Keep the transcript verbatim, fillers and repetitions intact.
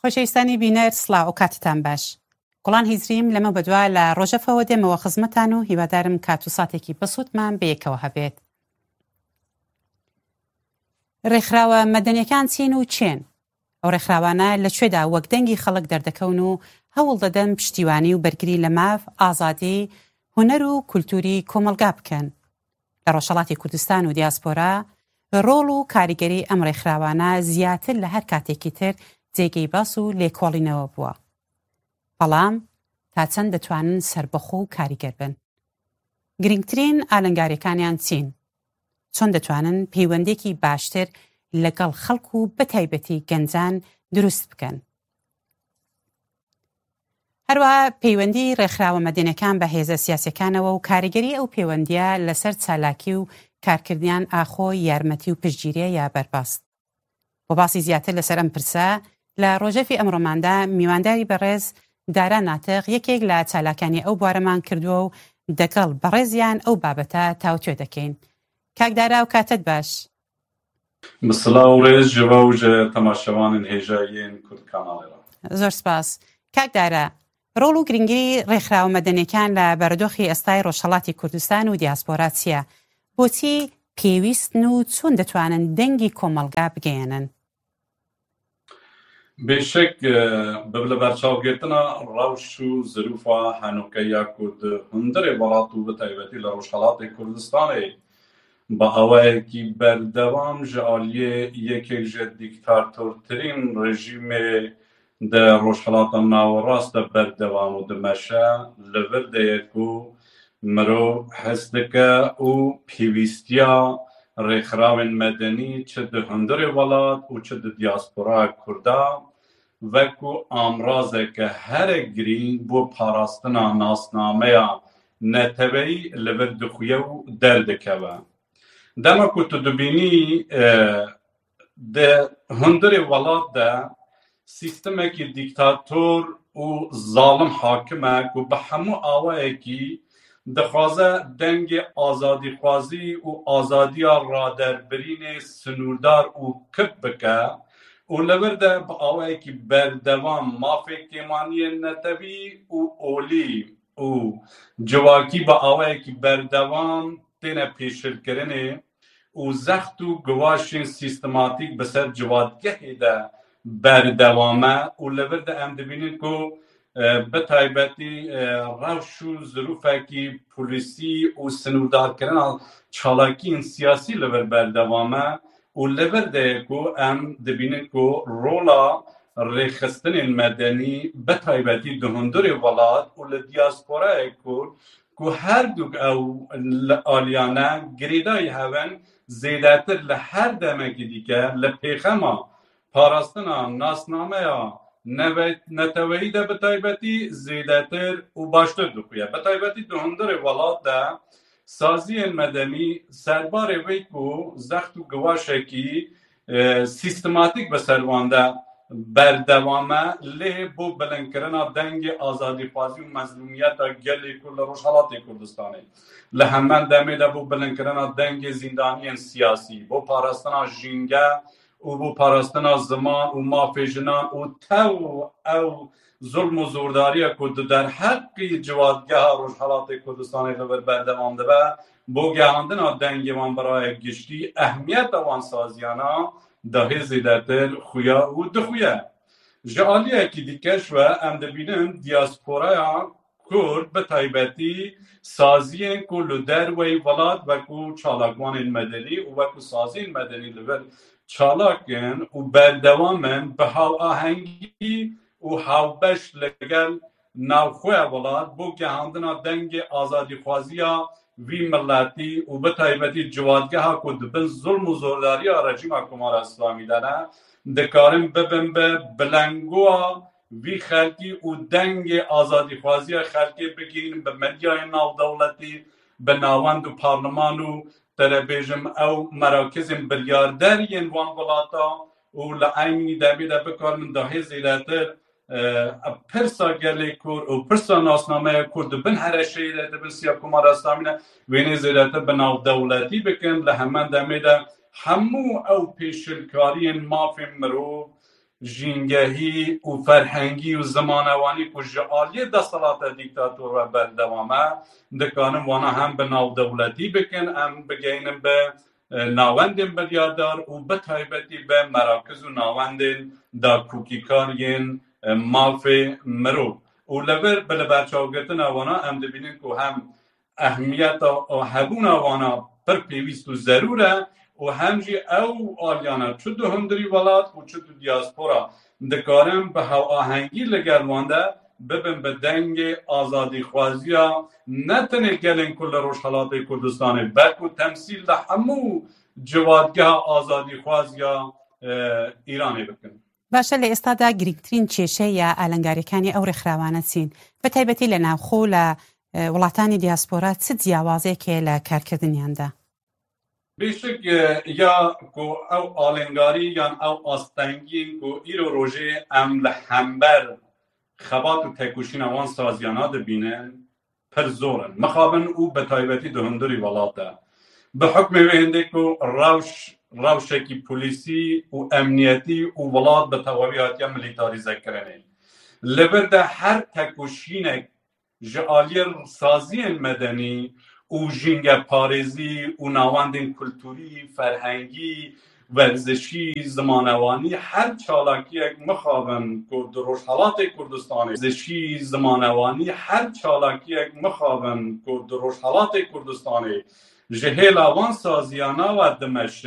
خۆشەویستانی بینەر، سڵاو و کاتتان باش. گوڵان هیزریم لەمە بەدوا لە ڕۆژەفەوە دێمەوە خزمەتان و هیوادارم کات و ساتێکی بەسوودمان بەیەکەوە هەبێت. ڕێکخراوە مەدەنیەکان چین و چێن؟ ئەو ڕێکخراوانە لە کوێدا وەک دەنگی خەڵک دەردەکەون و هەوڵ دەدەن پشتیوانی و بەرگری لە ماف، ئازادی، هونەر و کولتوری کۆمەلگا بکەن؟ لە ڕۆژهەڵاتی کوردستان و دیاسپۆرا ڕۆڵ و کاریگەری ئەم ڕێکخراوانە زیاتر لە هەر کاتێکی تر جێگەی باس و لێکۆڵینەوە بووە. بەڵام تا چەند دەتوانن سەربەخۆ و کاریگەر بن؟ گرنگترین ئالنگاریەکانیان چین؟ چۆن دەتوانن پەیوەندێکی باشتر لەگەڵ خەڵک و بەتایبەتی گەنجان دروست بکەن؟ هەروەها پەیوەندی ڕێکخراوە مەدەنیەکان بە هێزە سیاسیەکانەوە و کاریگەری ئەو پەیوەندیە لەسەر چالاکی و کارکردیان ئاخۆ یارمەتی و پشتگیریە یا بەرباست؟ بۆ باسی زیاتر لەسەر ئەم پرسە، لە ڕۆژەفی ئەمڕۆماندا میوانداری بەڕێز دارا ناتق، یەکێک لە چالاکانی ئەو بوارەمان کردووە و دەگەڵ بەڕێزیان ئەو بابەتە تاوتوێ دەکەین. کاک دارا، و کاتت باش. Bi silav û rêz ji we û ji temaşevanên hêja yên Kurd kanalê re. زۆر سپاس. کاک دارا، ڕۆڵ و گرنگی ڕێکخراوە مەدەنیەکان لە بەرەدۆخی ئێستای ڕۆژهەڵاتی کوردستان و دیاسپۆرا چییە؟ بۆچی پێویستن و چۆن دەتوانن دەنگی کۆمەڵگا بگەیەنن؟ Bêşek, e, bi li berçavgirtina rewş û zirûfa henokeya ku di hundirê welat û bi taybetî li Rojhelatê Kurdistanê bi awayekî berdewam ji aliyê yekek ji dîktatortirîn rejîmê di Rojhelata Nawerast de berdewam û dimeşe, li vir de ye ku mirov his dike û pêwîstiya rêxirawên medenî çi di hundirê welat û çi di diasporaya Kurda wekû amrazeke here girîng bo parastina nasnameya neteweyî li vir dixuye û derdikeve. Dema ku tu dibînî, e, di hundirê welat de sîstemekî dîktator û zalim hakim e ku bi hemû awayekî dixwaze dengê azadîxwazî û azadiya raderbirînê sinûrdar û kip bike û li vir de bi awayekî berdewam mafê kêmaniyên netewî û olî û civakî bi awayekî berdewam têne pêşilkirinê û zext û giwaşên sîstematîk bi ser civatgehê de berdewam e û li vir de em dibînin ku, e, bi taybetî, e, rewş û zirûfekî polîsî û sinûrdarkirina çalakiyên siyasî li vir berdewam e û li vir de ye ku em dibînin ku rola rêxistinên medenî bi taybetî di hundirê welat û li diasporayê Kurd ku her du ew li aliyane girêdayî hev in, zêdetir li her demekî dîke li pêxema parastina nasnameya neve-, neteweyî de bi taybetî zêdetir û baştir dixuye. Bi taybetî di hundirê welat de saziyên medenî serbarê wê ku zext û giwaşekî, e, sîstematîk bi ser wan de berdewam e, lê bo bilindkirina dengê azadîxwazî û mezlûmiyeta gelê Kurd li Rojhelatê Kurdistanê, li heman demê de bo bilindkirina dengê zîndaniyên siyasî, bo parastina jînge û bo parastina ziman û mafê jinan û tew ew zulm û zordariya ku di derheqî civatgeha Rojhelatê Kurdistanê li vir berdewam dibe, bo gehandina dengê wan bi raya giştî, ehmiyeta wan saziyana dahê zêdetir xuya û dixuye. Ji aliyekî dîke ji we em dibînin diasporaya Kurd bi taybetî saziyên ku li derweyî welat wekû çalakvanên medenî û wekû saziyên medenî li vir çalak in û berdewam in bi hawahengî û hawbeş li gel navxweya welat bo gehandina dengê azadîxwaziya vî miletî û bi taybetî civatgeha ku di bin zulm û zordariya rejîma Komara Îslamî de ne, dikarin bibin bi bilengoya vî xelkî û dengê azadîxwaziya xelkê bigihînin bi medyayên navdewletî, bi navend û parleman û te re bêjim ew merakizên biryarder yên wan welata û li eynî demê de bikarin dahê zêdetir, e, pirsa gelê Kurd û pirsa nasnameya Kurd di bin hereşeyê de, di bin siya Komara Îslamî de wênê zêdetir bi navdewletî bikin. Li heman demê de hemû ew pêşilkariyên mafên mirov, jîngehî û ferhengî û zimanewanî ku ji aliyê desthilata dîktator ve berdewam e, dikarin wana hem bi navdewletî bikin, em bigeynin bi, e, nawendên biryardar û bi taybetî bi merakiz û nawendên dakokîkar yên, e, mafê mirov. Û li vir bi liberçavgirtina wana em dibînin ku hem ehmiyeta hebûna wana pir pêwîst û zerûr e û hem jî ew aliyana çi di hundirî welat û çi di diaspora dikarin bi hevahengî li gel wan de bibin bi dengê azadîxwaziya ne tenê gelên ku li Rojhelatê Kurdistanê, belku temsîl li hemû civatgeha azadîxwaziya, e, Îranê bikin. باشە، لە ئێستادا گرنگترین کێشە یا ئالنگاریەکانی ئەو ڕێکخراوانە چین، بە تایبەتی لە ناوخۆ و لە، ئە، وڵاتانی دیاسپۆرا چ جیاوازێکێ لە کارکردنیاندا؟ Bêşik, e, ya ku ew alengarî yan ew astengiyên ku îro rojê em li hember xebat û tekoşîna wan saziyana dibînin, pir zor in. Mixabin û bi taybetî di hundirî welat de. Bi hukmê wê hindê ku rewş, rewşekî polîsî û emniyetî û welat bi tewawî hatiye milîtarîzekirinê. Li vir de her tekoşînek ji aliyê saziyên medenî û jîngeparêzî û nawendên kulturî, ferhengî, werzişî, zimanewanî, her çalakiyek mixabin ku di Rojhelatê Kurdistanê, werzişî, zimanewanî, her çalakiyek mixabin ku di Rojhelatê Kurdistanê ji hêla wan saziyana ve dimeşe,